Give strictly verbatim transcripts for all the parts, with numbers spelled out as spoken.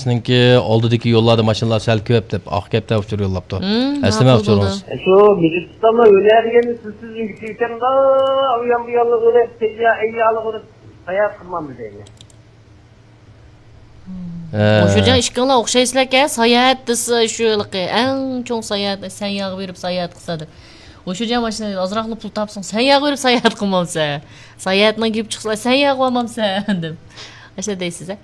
سىزنىڭكى ئالدىدىكى يوللاردا ماشىنىلار سەل كۆپ دەپ، ئاق كەپتە ئۇچۇر يوللاپتۇ. ھىم، ئەسلىمە ماقۇل ئۇچۇرىڭىز. بولدى. شۇ مېدىتستاندا ھۈنەر دېگەننى سىز سىزنىڭكى ئىكەن، ئۇ يان بۇ يانلىق ئۆرەپ، تەييا ئەييالىق ئۆرەپ ساياھەت قىلمامدۇ دەيمەن. ھە. مۇشۇجان ئىككىڭلار ئوخشايسىلەركەن، ساياھەت دېسە شۇ ھېلىقى ئەڭ چوڭ ساياھەت، سەن ياغا بېرىپ ساياھەت قىلسا دەپ. مۇشۇجان ماشىنا ئازراقلا پۇل تاپساڭ، سەن ياغا بېرىپ ساياھەت قىلمامسەن؟ ساياھەتنىڭ گېپى چىقسا، سەن ياغا بارمامسەن دەپ. ئاشۇ دەيسىز، ھە؟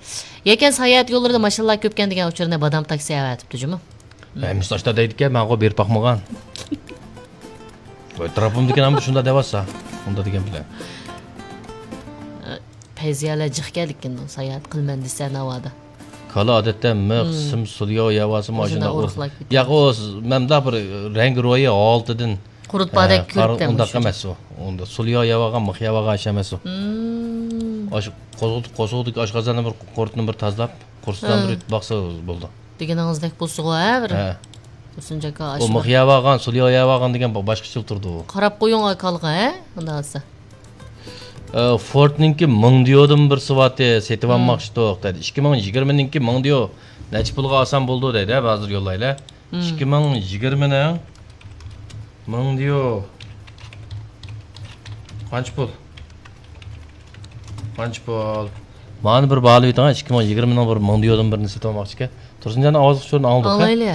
يەكەن ساياھەت يوللىرىدا ماشىنىلار كۆپكەن دېگەن ئۇچۇرنى بادام تاكسى ئەۋەتىپتۇ جۇمۇ. ھەممىسى ئاشتا دەيدىكەن، ماڭا بېرىپ باقمىغان. ۋاي، ئەتراپىمدىكىلەرمۇ شۇنداق دەۋاتسا، ئۇنداق دېگەن بىلەن. پەيزىيەلەر جىق كەلدىكىن ساياھەت قىلىمەن دېسە ناۋادا. كالا ئادەتتە مىخ، ھىم. سىم، سۇلياۋ يەۋالسا ماشىنا ئورۇقلاپ كېتىدۇ. ياق، ئۇ س-، مەمدا بىر رەڭگى روھى ھالىتىدىن، قۇرۇت باردەك ھە، كۆرۈپ قار-، ئۇنداق ئەمەس ئۇ. ئۇنداق سۇلياۋ يەۋالغان، مىخ يەۋالغان ئىش ئەمەس ئۇ. ھىم. ئاشۇ قوزۇق-، قوزۇقتىكى ئاشقازاننى بىر قۇرتنى بىر تازىلاپ، قورسىقىدىن ھە. بىر يۇتۇپ باقسا بولىدۇ. دېگىنىڭىزدەك بولسىغۇ، ھە، بىر. ھە. تۇرسۇنجان ئاكا، ئۇ ئاشۇنداق. مىخ يەۋالغان، سۇلياۋ يەۋالغان دېگەن با-، باشقىچىلا تۇرىدۇ ئۇ. قاراپ قويۇڭ ئاكالغا، ھە، ئۇنداق بولسا. ئە، فوردنىڭكى مىڭ ديودىن بىرسى بارتى، سېتىۋالماقچىدۇق، ھىم. دەيدۇ. ئىككى مىڭ يىگىرمىنىڭكى مىڭ ديو نەچچە پۇلغا ئالسام بولىدۇ دەيدۇ، ھە، ھازىر يوللايلى. ھىم. ئىككى مىڭ يىگىرمىنىڭ مىڭ ديو. قانچە پۇل؟ قانچە پۇل؟ مانا بىر باھالىۋېتىڭ، ئىككى مىڭ يىگىرمىنىڭ بىر مىڭ ديودىن بىرنى سېتىۋالماقچىكەن. تۇرسۇنجاننىڭ ئاۋازلىق ئۇچۇرىنى ئاڭلىدۇق، ھە؟ ئاڭلايلى.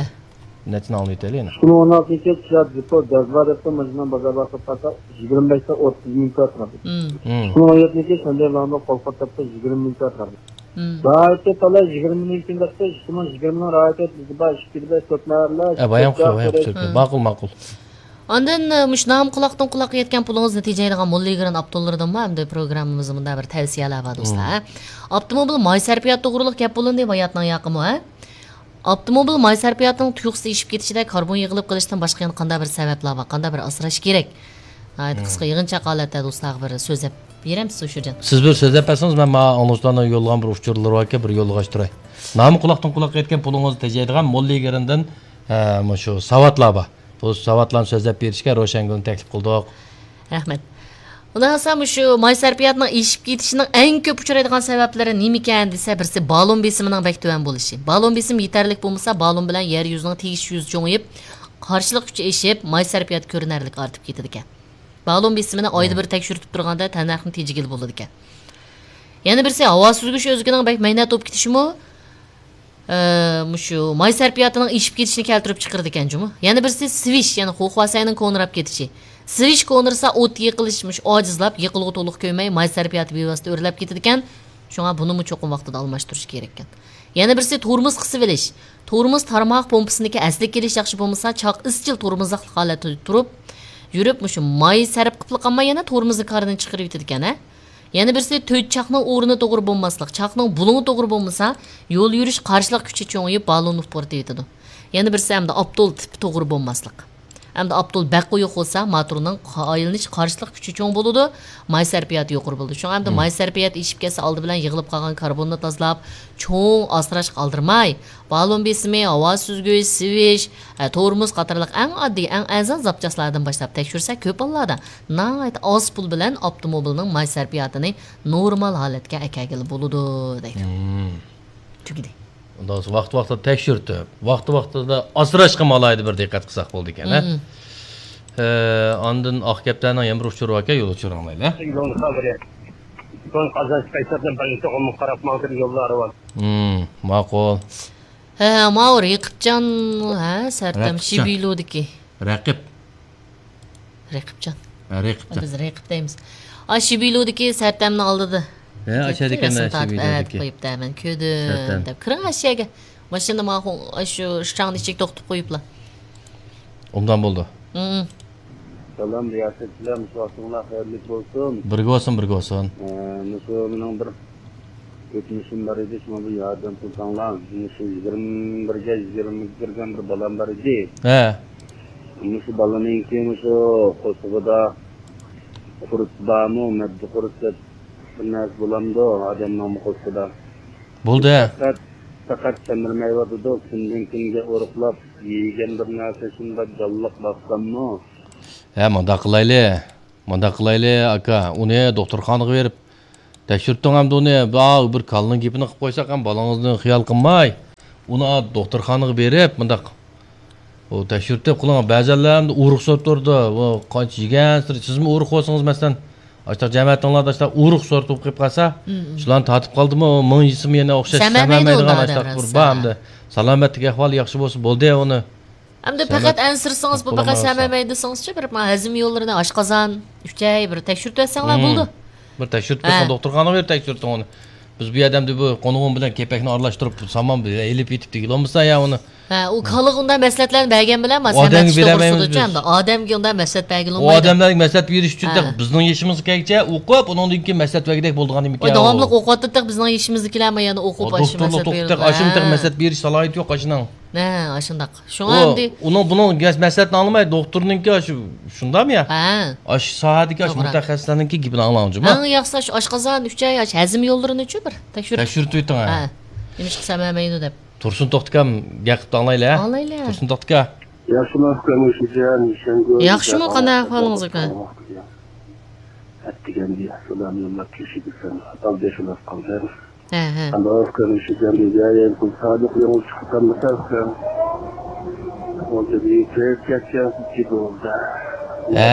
نەچچىنى ئاڭلىۋېتەيلى يەنە. ئىككى مىڭ ئون ئالتىنچى يىل كىيا جىپو جازۋا دەپتۇ، ماشىنا بازارغا ساتقاندا يىگىرمە بەشتە ئوتتۇز مىڭ كىرا تۇراتتى. ھىم. ھىم. ئىككى مىڭ ئون يەتتىنچى يىل شاندەي لامدا قول قاتتى، يىگىرمە مىڭ كىرا تۇراتتى. ھىم. رايىتى تالاي يىگىرمە مىڭ كىم دەپتۇ، ئىككى مىڭ يىگىرمىنىڭ رايىتى بىزدە بار، ئىككى بەش تۆت مەھەللە، ئە، بايام تۆت قىلىپ، بايام قىلىپ. ھىم. ماقۇل، ماقۇل. ئاندىن، ئە، مۇشۇ نامى قۇلاقتىن قۇلاققا يەتكەن پۇلىڭىزنى تېجەيدىغان موللا ئىگران ئاپتوللىرىدىنمۇ ئەمدى پروگراممىمىزدا مۇنداق بىر تەۋسىيەلەر بار، دوستلار. ھىم. ئاپتوموبىل ماي سەرپىياتى توغرۇلۇق گەپ بولۇندى، باياتنىڭ ياقىمۇ، ھە؟ ئاپتوموبىل ماي سەرپىياتىنىڭ تۇيۇقسىز ئېشىپ كېتىشىدە كاربون يىغىلىپ قېلىشتىن باشقا يەنە قانداق بىر سەۋەبلەر بار، قانداق بىر ئاسراش كېرەك؟ ناھايىتى ھىم. قىسقا يىغىنچاق ھالەتتە دوستلارغا بىر سۆزلەپ بېرەمسىز شۇ جان؟ سىز بىر سۆزلەپ بەرسىڭىز، مەن ماڭا ئاڭلىغۇچىلارنىڭ يوللىغان بىر ئۇچۇرلىرى باركەن، بىر يوللىغاچ تۇراي. نامى قۇلاقتىن قۇلاققا يەتكەن پۇلىڭىزنى تېجەيدىغان موللا ئىگرىندىن، ھە، مۇشۇ ساۋاتلار بار. بۇ ساۋاتلارنى سۆزلەپ بېرىشكە روشەنگۈلنى تەكلىپ قىلدۇق. رەھمەت. ئۇنداق بولسا مۇشۇ ماي سەرپىياتىنىڭ ئېشىپ كېتىشىنىڭ ئەڭ كۆپ ئۇچرايدىغان سەۋەبلىرى نېمىكەن دېسە، بىرسى بالون بېسىمىنىڭ بەك تۆۋەن بولۇشى. بالون بېسىمى يېتەرلىك بولمىسا، بالون بىلەن يەر يۈزىنىڭ تېگىشىش يۈزى چوڭىيىپ، قارشىلىق كۈچى ئېشىپ، ماي سەرپىياتى كۆرۈنەرلىك ئارتىپ كېتىدىكەن. بالون بېسىمىنى ئايدا مم. بىر تەكشۈرتۈپ تۇرغاندا تەننەرخنى تېجىگىلى بولىدىكەن. يەنە بىرسى ھاۋا سۈزگۈچ ئۆزىكىنىڭ بەك مەينەت بولۇپ كېتىشىمۇ، ئە، مۇشۇ ماي سەرپىياتىنىڭ ئېشىپ كېتىشىنى كەلتۈرۈپ چىقىرىدىكەن جۇمۇ. يەنە بىرسى سىۋىش، يەنى خۇخۇاسەينىڭ كونىراپ كېتىشى. سىۋىش كونىرىسا ئوت يېقىلىش مۇشۇ ئاجىزلاپ، يېقىلغۇ تولۇق كۆيمەي، ماي سەرپىياتى بىۋاسىتە ئۆرلەپ كېتىدىكەن. شۇڭا بۇنىمۇ چوقۇم ۋاقتىدا ئالماشتۇرۇش كېرەككەن. يەنە بىرسى تورمۇز قىسىۋېلىش. تورمۇز تارماق پومپىسىنىڭكى ئەسلىگە كېلىش ياخشى بولمىسا، چاق ئىزچىل تورمۇزلۇق ھالەتتە تۇرۇپ يۈرۈپ، مۇشۇ ماي سەرپ قىلىپلا قالماي، يەنە تورمۇزنى كاردىن چىقىرىۋېتىدىكەن، ھە. يەنە بىرسى تۆت چاقنىڭ ئورنى توغرا بولماسلىق، چاقنىڭ بۇلۇڭى توغرا بولمىسا، يول يۈرۈش قارشىلىق كۈچى چوڭىيىپ، بالون ئۇپرىتىۋېتىدۇ. يەنە بىرسى ئەمدى ئاپتول تىپى توغرا بولماسلىق. ئەمدى ئاپتول بەك قويۇق بولسا، موتورنىڭ قا-، ئايلىنىش قارشىلىق كۈچى چوڭ بولىدۇ، ماي سەرپىياتى يۇقىرى بولىدۇ. شۇڭا ئەمدى مم. ماي سەرپىياتى ئېشىپ كەتسە، ئالدى بىلەن يىغىلىپ قالغان كاربوننى تازىلاپ، چوڭ ئاسراشقا ئالدىرىماي، بالون بېسىمى، ھاۋا سۈزگۈچ، سىۋىش، ئە، تورمۇز قاتارلىق ئەڭ ئاددىي، ئەڭ ئەرزان زاپچاسلاردىن باشلاپ تەكشۈرسە، كۆپ ھاللاردا ناھايىتى ئاز پۇل بىلەن ئاپتوموبىلنىڭ ماي سەرپىياتىنى نورمال ھالەتكە ئەكەلگىلى بولىدۇ، دەيدۇ. مم. تۈگىدى. ئۇنداق بولسا ۋاقتى ۋاقتىدا تەكشۈرتۈپ، ۋاقتى ۋاقتىدا ئاسراشقا ئالاھىدە بىر دىققەت قىلساق بولىدىكەن، ھە؟ مم. ئە، ئاندىن ئاق كەپتەرنىڭ يەنە بىر ئۇچۇرى باركەن، يول ئۇچۇرىنى ئاڭلايلى. يولنى قالدۇرۇپ، سوڭ قازانچ قايتۇرۇپ، بىرىنچى ئومۇق قاراپ ماڭدىم، يوللار بار. مم، ماقۇل. ھە، ماۋۇ رەقىبجان، ھە، سەرتەم رەقىبجان. شىبىلۇدىكى. رەقىب. رەقىبجان. ھە، رەقىبجان. بىز رەقىب دەيمىز. ئا، شىبىلۇدىكى سەرتەمنىڭ ئالدىدا. ھە، ئاشۇ يەردىكى رەسىم مەن تارتىپ شىبىلۇدىكى. ئەۋەتىپ قويۇپتۇ، مەن كۆردۈم سەرتەم. دەپ. كىرىڭ ئاشۇ يەرگە. ماشىنا مانا شۇ شاڭنىڭ ئىچىگە توختىتىپ قويۇپلا. ئوبدان بولدى. مم. سالام، رىياسەتچىلەر، مۇشۇ ۋاقتىڭلار خەيرلىك بولسۇن. بىرگە بولسۇن، بىرگە بولسۇن. ئە، مۇشۇ مېنىڭ بىر ئۆتمۈشۈم بار ئىدى، شۇڭا بىر ياردەم قىلساڭلار. مۇشۇ يىگىرمە بىرگە، يىگىرمىگە كىرگەن بىر بالام بار ئىدى. ھە. مۇشۇ بالىنىڭكى مۇشۇ قورسىقىدا قۇرت بارمۇ، مەددە قۇرت دەپ بىر نەرسە بولامدۇ ئادەمنىڭمۇ قورسىقىدا؟ بولدى. پەقەت، پەقەت سەمرىمەيۋاتىدۇ. كۈندىن كۈنگە ئورۇقلاپ يېگەن بىر نەرسە شۇنداق جانلىق باقساممۇ؟ ھە، مۇنداق قىلايلى. مۇنداق قىلايلى، ئاكا. ئۇنى دوختۇرخانىغا بېرىپ تەكشۈرتۈڭ ئەمدى ئۇنى. بىر كالىنىڭ گېپىنى قىلىپ قويساق ھەم بالىڭىزنى خىيال قىلماي. ئۇنى دوختۇرخانىغا بېرىپ، مۇنداق، ئۇ تەكشۈرتۈپ قىلىڭ. بەزەنلەر ئۇرۇق سورىتىپ تۇرىدۇ. ئۇ قانچە يېگەن سېرى، سىزمۇ ئۇرۇق بولسىڭىز، مەسىلەن، ئاشتاق جەمەتىڭلاردا ئاشتاق ئۇرۇق سورىتىپ قېلىپ قالسا، شۇلارنى تارتىپ قالدىمۇ، مىڭ يېسىمۇ يەنە ئوخشاش سەمەمەيدۇ سەمەمەيدىغان ئاشتاق بىر بار ئەمدى. سالامەتلىك ئەھۋالى ياخشى بولسا بولدى ئۇنى. ئەمدى پەقەت ئەنسىرىسىڭىز، بۇ پەقەت سەمەمەي دېسىڭىزچۇ، بىر ھەزىم يوللىرىنى، ئاشقازان، ئۈچەي بىر تەكشۈرتۈۋەتسەڭلار بولىدۇ. بىر تەكشۈرتۈپ بېقىڭ، دوختۇرخانىغا بېرىپ تەكشۈرتۈڭ ئۇنى. بىز بۇ يەردە ئەمدى بۇ قونۇغۇم بىلەن كېپەكنى ئارىلاشتۇرۇپ، سامان بىلەن ئېلىپ ئېتىپ دېگىلى بولمىسا يا ئۇنى. ھە، ئۇ كالىغا ئۇنداق مەسلىھەتلەرنى بەرگەن بىلەن، ئۇ ئادەمگە بېرەلمەيمىز بىز. ئادەمگە ئۇنداق مەسلىھەت بەرگىلى بولمايدۇ. ئۇ ئادەملەرگە مەسلىھەت بېرىش ئۈچۈن بىزنىڭ يېشىمىزغا كەلگۈچە ئوقۇپ، ئۇنىڭدىن كېيىن مەسلىھەت بەرگۈدەك بولىدىغان نېمىكەن ئۇ. داۋاملىق ئوقۇۋاتىدۇ بىزنىڭ يېشىمىزدىكىلەرمۇ يەنە ئوقۇپ ئاشۇ مەسلىھەت بېرىدۇ. ئاشۇ مەسلىھەت بېرىش سالاھىيىتى يوق ئاشۇنىڭ. ھە، ئاشۇنداق. شۇڭا ئەمدى ئۇنىڭ بۇنىڭ مەسلىھەتىنى ئاڭلىماي، دوختۇرنىڭكى ئاشۇ، شۇنداقمۇ يا؟ ھە. ئاشۇ ساھەدىكى ئاشۇ مۇتەخەسسىسلەرنىڭكى گېپىنى ئاڭلاڭ جۇمۇ. ئەڭ ياخشىسى ئاشقازان، ئۈچەي، ئاشۇ ھەزىم يوللىرىنىچۇ بىر تەكشۈرتۈپ. تەكشۈرتۈۋېتىڭ، ھە. ھە. نېمىشقا سەمەمەيدۇ دەپ. تۇرسۇن توختىكام گەپ قىلىپ ئاڭلايلى، ھە؟ ئاڭلايلى. تۇرسۇن توختىكا. ياخشىمۇ، ئۇكام، ئۆشۈجان، ياخشىمۇ، قانداق ئەھۋالىڭىز، ئۇكا؟ ئەتىگەندە سالام يوللاپ كېلىشىدىكەن. ئاتام بېشىنى قالدى. ھە، ھە. ئاندىن ئۆشۈجان دېگەن، يەنە پۇل سادىق يولغا چىقىپ قالمىسا، ئۇكام. ئۇنچە بىر كۆيۈپ كەتكەن كىبولدا. ھە.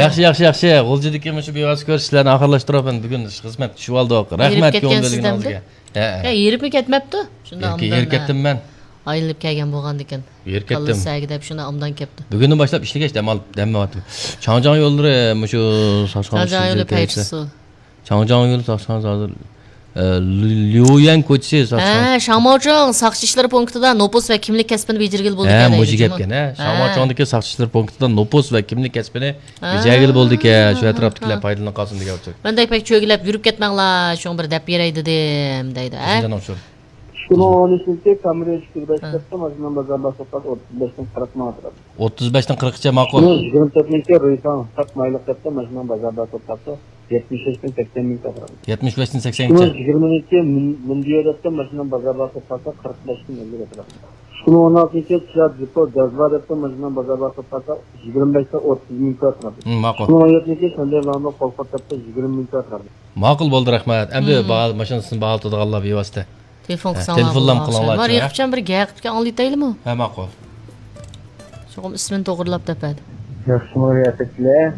ياخشى، ياخشى، ياخشى. غۇلجىدىكى مۇشۇ بىۋاسىتە كۆرۈشۈشلەرنى ئاخىرلاشتۇرۇپ، بۈگۈن خىزمەت چۈشۈۋالدۇق. رەھمەت كۆڭۈل بۆلگىنىڭىزگە. ھە، ھە. ھېرىپمۇ كەتمەپتۇ؟ شۇنداق ھېرىپ كەتتىم مەن. ئايلىنىپ كەلگەن بولغاندىكىن. ھېرىپ كەتتىم. كاللىسى ئەگىدەپ شۇنداق ئوبدان كەپتۇ. بۈگۈندىن باشلاپ ئىشلىگەچ دەم ئال-، دەم ئالاتتىم. چاڭجياڭ يوللىرى مۇشۇ ساقچىخانا چاڭجياڭ يولى پەيچىسۇ. چاڭجياڭ يولى ساقچىخانا ھازىر، ئە، ليۇيەن كوچىسى ساقچىخانا. ھە، شاڭماۋچىڭ ساقچى ئىشلىرى پونكىتىدا نوپۇس ۋە كىملىك كەسپىنى بېجىرگىلى بولىدىكەن. ھە، مۇشۇ گەپكەن، ھە. شاڭماۋچىڭدىكى ساقچى ئىشلىرى پونكىتىدا نوپۇس ۋە كىملىك كەسپىنى بېجىرگىلى بولىدىكەن. شۇ ئەتراپتىكىلەر پايدىلىنىپ قالسۇن دېگەن ئۇچۇر. مەن دەيپەك چۆگىلەپ يۈرۈپ كەتمەڭلار، شۇڭا بىر دەپ بېرەي دېدىم، دەيدۇ، ھە؟ شۇنداق ئۇچۇر. ئىككى مىڭ ئون ئۈچىنچى يىلى كامرى ئۈچ يۈز بەش دەپتۇ، ماشىنىنىڭ بازار باھاسى ئوتتۇز بەشتىن قىرىق مىڭ ئەتراپىدا. ئوتتۇز بەشتىن قىرىققىچە ماقۇل. ئىككى مىڭ يىگىرمە تۆتىنچى يىلى رۇيفاڭ ساق مايلىق دەپتۇ، ماشىنىنىڭ بازار باھاسى ئوتتۇز، يەتمىش بەشتىن سەكسەن مىڭ ئەتراپىدا. يەتمىش بەشتىن سەكسەن. ئىككى مىڭ يىگىرمىنچى يىلى مۇندىيو دەپتۇ، ماشىنىنىڭ بازار باھاسى ئوتتۇز، قىرىق بەشتىن ئەللىك ئەتراپىدا. ئىككى مىڭ ئون ئالتىنچى يىلى كىيا جىپو جازۋا دەپتۇ، ماشىنىنىڭ بازار باھاسى ئوتتۇز، يىگىرمە بەشتىن ئوتتۇز مىڭ ئەتراپىدا. مم، ماقۇل. ئىككى مىڭ ئون يەتتىنچى يىلى شاندەي لانو قولخوت دەپتۇ، يىگىرمە مىڭ ئەتراپىدا. ماقۇل بولدى، رەھمەت. ئەمدى باھا-، ماشىنىسىنى باھالىتىدىغانلار بىۋاسىتە. تېلېفون قىلساڭلار بولىدۇ. مانا، يېقىپچان بىر گەپ قىلىپ ئاڭلىتايلىمۇ؟ ھە، ماقۇل. چوقۇم ئىسمىنى توغرىلاپ دەپ بەردى. ياخشىمۇ رىياسەتچىلەر؟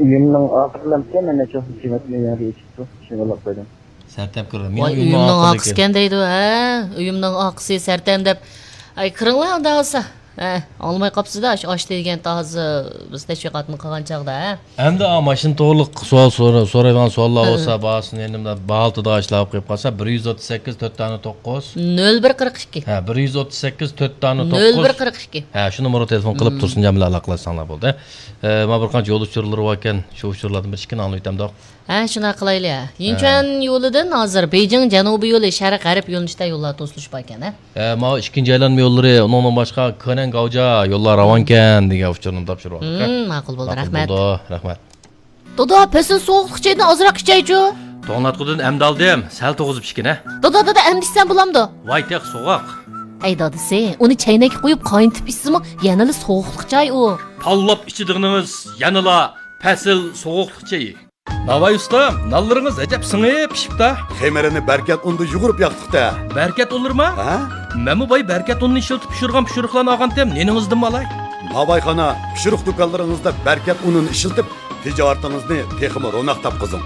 ئۆيۈمنىڭ ئاخىرلامچە، مەن نەچچە ۋاقىت خىزمەتنى يەنە ئېچىپتۇ، شۇنى ئاڭلاپ قويدۇم. سەرتەم كىرىدۇ. مېنىڭ ۋاي، ئۆيۈمنىڭ ئۆيۈمنىڭ ئاخىرى ئاقىسىكەن دەيدۇ، ھە؟ ئۆيۈمنىڭ ئاقىسى سەرتەم دەپ. ئاي، كىرىڭلار ئۇنداق بولسا. ھە، ئاڭلىماي قاپسىز-دە، ئاشۇ ئاش دېگەن تازا بىز تەشۋىقاتنى قىلغان چاغدا، ھە؟ ئەمدى ئا، ماشىنا توغرىلىق سوئال سورا-، سورايدىغان سوئاللار بولسا، باھاسىنى يەنە باھالىتىدىغان ئىشلار بولۇپ قېلىپ قالسا، بىر يۈز ئوتتۇز سەككىز، تۆت دانە توققۇز. نۆل بىر قىرىق ئىككى. ھە، بىر يۈز ئوتتۇز سەككىز، تۆت دانە توققۇز. نۆل بىر قىرىق ئىككى. ھە، شۇ نومۇرغا تېلېفون قىلىپ تۇرسۇن جان بىلەن ئالاقىلەشسەڭلار بولدى. ئە، مانا بىر قانچە يول ئۇچۇرلىرى باركەن، شۇ ئۇچۇرلاردىن بىر ئىككىنى ئاڭلىۋېتەمدۇق. ھە، شۇنداق قىلايلى. ھە. يىنچۈەن يولىدىن ھازىر بېيجىڭ جەنۇبىي يولى شەرق غەرب يۆنىلىشتە يوللار توسۇلۇش باركەن، ھە؟ ھە، ماۋۇ ئىككىنچى ئايلانما يوللىرى، ئۇنىڭدىن باشقا كېنەن گاۋجا يوللار راۋانكەن دېگەن ئۇچۇرنى تاپشۇرۇۋالدۇق. ھىم، ماقۇل بولدى، رەھمەت. بولدى، رەھمەت. دادا، پەسىل سوغۇقلۇق چايدىن ئازراق ئىچەيچۇ. توڭلاتقۇدىن ئەمدى ئالدىم، سەل توغۇزۇپ ئىچكىنە. دادا، دادا، ئەمدى ئىچسەم بولامدۇ؟ ۋاي، تېخى سوغۇق. ئەي دادىسى، ئۇنى چەينەككە قۇيۇپ قاينىتىپ ئىچسىمۇ يەنىلا سوغۇقلۇق چاي ئۇ. تاللاپ ئىچىدىغىنىڭىز يەنىلا پەسىل سوغۇقلۇق چېيى. ناۋاي ئۇستا، نانلىرىڭىز ئەجەب سىڭىپ پىشىپتا. خېمىرىنى بەركەت ئۇندا يۇغۇرۇپ ياقتۇقتا. بەركەت ئۇنلىرىما؟ ھە؟ مەنمۇ باي بەركەت ئۇنىنى ئىشلىتىپ پىشۇرغان پىشۇرۇقلارنى ئالغانتىم، نېنىڭىزدىنمۇ ئالاي؟ ناۋايخانا، پىشۇرۇق دۇكانلىرىڭىزدا بەركەت ئۇنىنى ئىشلىتىپ، تىجارىتىڭىزنى تېخىمۇ روناق تاپقۇزۇڭ.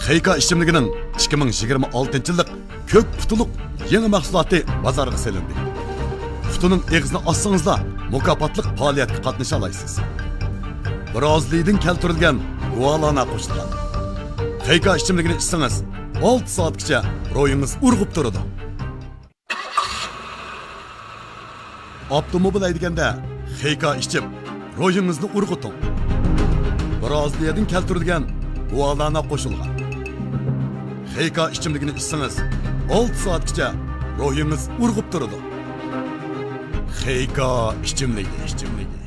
خېيكا ئىچىملىكىنىڭ ئىككى مىڭ يىگىرمە ئالتىنچى يىللىق كۆك پۇتىلۇق يېڭى مەھسۇلاتى بازارغا سېلىندى. پۇتىنىڭ ئېغىزىنى ئاچسىڭىزلا، مۇكاپاتلىق پائالىيەتكە قاتنىشالايسىز. برازىلىيىدىن كەلتۈرۈلگەن گۇالانا قوشۇلغان. خېيكا ئىچىملىكىنى ئىچسىڭىز، ئالتە سائەتكىچە روھىڭىز ئۇرغۇپ تۇرىدۇ. ئاپتوموبىل ھەيدىگەندە خېيكا ئىچىپ، روھىڭىزنى ئۇرغۇتۇڭ. برازىلىيەدىن كەلتۈرۈلگەن گۇالانا قوشۇلغان. خېيكا ئىچىملىكىنى ئىچسىڭىز، ئالتە سائەتكىچە روھىڭىز ئۇرغۇپ تۇرىدۇ. خېيكا ئىچىملىكى، ئىچىملىكى.